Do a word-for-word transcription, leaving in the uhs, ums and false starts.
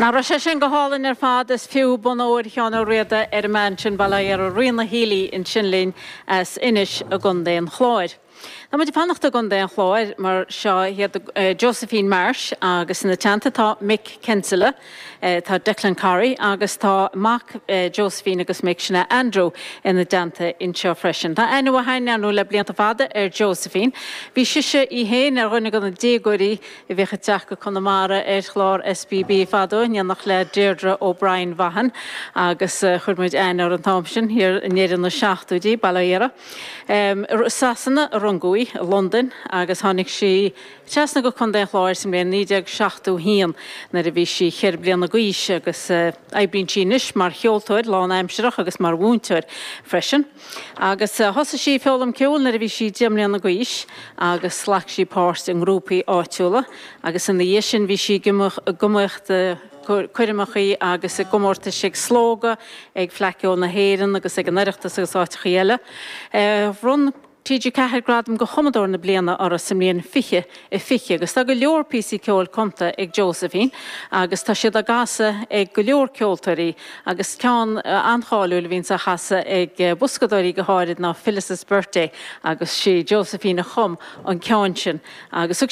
Nach raibh sé sin go hálainn ar fad is fiú bonn óir Sheáin Ó Riada ar an mbean sin bail ó Dhia uirthi Ríona Healy ansin linn as Inis i gContae an Chláir. Tá muid ag fanacht i gContae an Chláir mar seo iad Josephine Marsh agus ina teannta tá Mick Kinsella, tá Declan Corry agus tá mac Josephine agus Mick sin Andrew ina dteannta anseo freisin. Tá aithne mhaith le blianta fada ar Josephine. Bhí sise í féin ar dhuine de na déagóirí a bhíodh ag teacht go Conamara ar chlár SBB fadó in éineacht le Deirdre O'Brien Vaughan agus chuir muid aithne uirthi an t-am sin thiar i ndeireadh na seachtóidí bail ó Dhia uirthi. Sasana a rugadh í i Londain agus tháinig sí trasna go Contae an Chláir sa mbliain naoi déag seachtó haon nuair a bhí sí ceithre bliana d'aois agus oibríonn sí anois mar cheoltóir lánaimsearach agus mar mhúinteoir freisin. Agus thosaigh sí foghlaim ceoil nuair a bhí sí deich mbliana d'aois agus ghlac sí páirt i ngrúpaí áitiúla agus ina dhiaidh sin bhí sí ag iomaíocht coirmeachaí agus i gcomórtais ag Slógadh, ag Fleadh Cheoil na hÉireann agus ag an Oireachtas agus áiteachaí eile. Bhronn TG Ceathair gradam do chumadóir na bliana uirthi sa mbliain fiche a fiche agus tá go leor píosaí ceoil cumtha ag Josephine agus tá siad á gcasadh ag go leor ceoltóirí agus ceann an-cháiliúil a bhíonn á chasadh ag boscadóirí go háirid ná Phyllis's Birthday agus sí Josephine a chum an ceann sin agus thug